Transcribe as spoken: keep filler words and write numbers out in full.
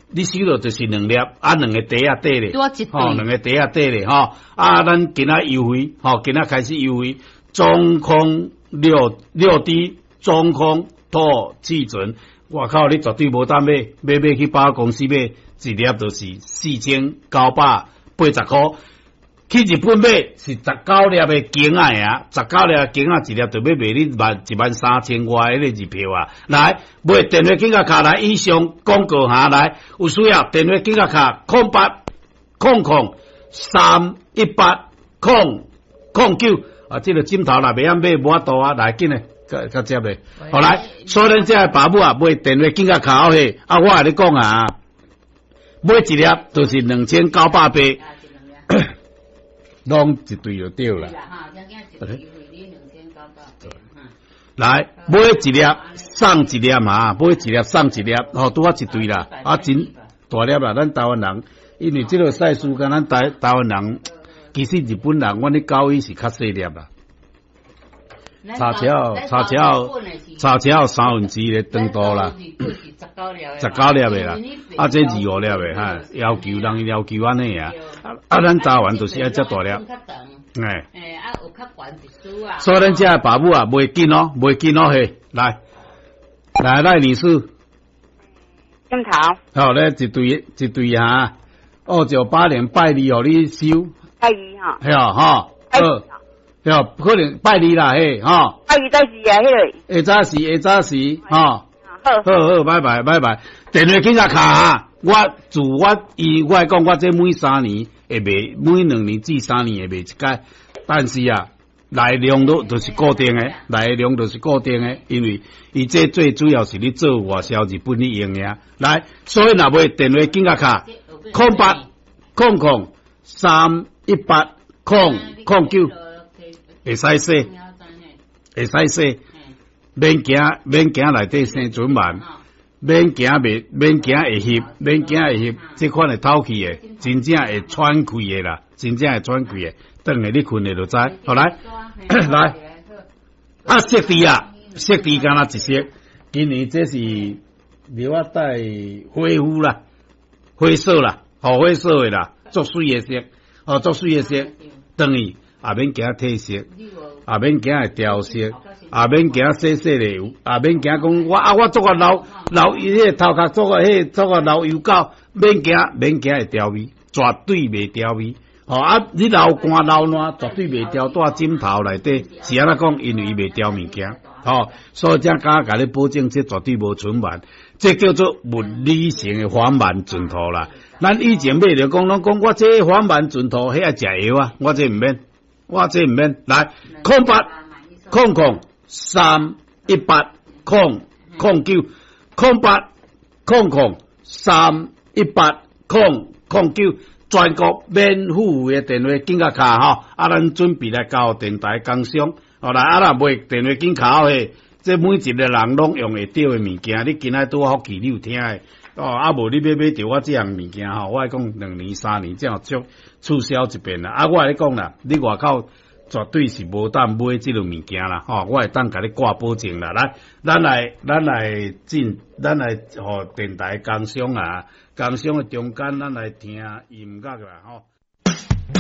你收落就是兩粒，啊，兩个袋仔底咧，吼，兩个袋仔底咧，吼，啊，咱今仔優惠，吼，今仔開始優惠，中空六六 D 中空脫氣醇，外口你絕對無當買，買買去百貨公司買，一粒就是四千九百八十箍。去日本買是十九粒的鏡仔爾，十九粒鏡仔一粒就欲賣你萬一萬三千外彼个日票啊！來，買電話緊共敲來，以上廣告哈來，有需要電話緊共敲空八空空三一八空空九啊！這个枕頭若袂曉買無法度啊，來緊來，較較接咧。好來，所以恁這个爸母啊，買電話緊共敲嘿，啊，我共你講啊，買一粒就是兩千九百八。攏一對就對啦。來，買一粒送一粒嘛，買一粒送一粒，吼，拄好一對啦。啊，真大粒啦！咱台灣人，因為這个賽事，敢咱台台灣人，其實日本人，阮咧狗醫是較細粒啦。差超差超差超三分之一的長度啦，十九粒的啦，啊，這二五粒的哈，要求人要求按呢啊，啊，咱台灣就是愛遮大粒，哎，所以咱這爸母啊，袂緊哦，袂緊哦，嘿，來，來來，女士，枕頭，好咧，一對一對哈，哦，九八年拜二予你收，拜二哈，嘿啊，哈，好。對，可能拜二啦，嘿，吼。拜二在時啊，彼个。下早時，下早時，吼。好。好好，拜拜，拜拜。電話緊共敲啊！我自我伊，我講我這每三年會賣，每兩年至三年會賣一擺。但是啊，來量都就是固定的，來量就是固定的，因為伊這最主要是咧做外銷日本咧用的。來，所以若買電話緊共敲，空八空空三一八空空九。會使洗，會使洗，免驚免驚內底生蟎蟎，免驚袂免驚會翕，免驚會翕，這款會透氣的，真正會喘氣的啦，真正會喘氣的，轉下你睏的就知。好來來，啊，色地啊，色地敢若一色，今年這是料仔帶灰膚啦，灰色啦，好灰色的啦，足媠的色，哦，足媠的色，轉去。也免驚褪色，也免驚會掉色，也免驚洗洗咧，也免驚講我啊我足夠老老伊彼个頭殼足夠彼個足夠老油狗，免驚免驚會掉味，絕對袂掉味。吼啊！你流汗流汗，絕對袂掉蹛枕頭內底，是按怎講？因為伊袂掉物件，吼，所以才敢共你保證，這絕對無蟎蟎，這叫做物理性的防蟎枕頭啦。咱以前買著講攏講我這防蟎枕頭，彼愛食藥啊，我這毋免。我這毋免來空八空空三一八空空九空八空空三一八空空九，全國免付費的電話緊共敲吼，啊，咱準備來交電台工商，好來啊，若袂電話緊敲嘿，這每一個人攏用會著的物件，你今仔拄好福氣，你有聽的哦，啊無你欲買著我這項物件吼，我愛講兩年三年才有促促銷一遍啦。啊，我共你講啦，你外口絕對是無當買這个物件啦，吼，我會當共你掛保證啦。來，咱來，咱來進，咱來予電台工商啊，工商的中間，咱來聽音樂啦，吼。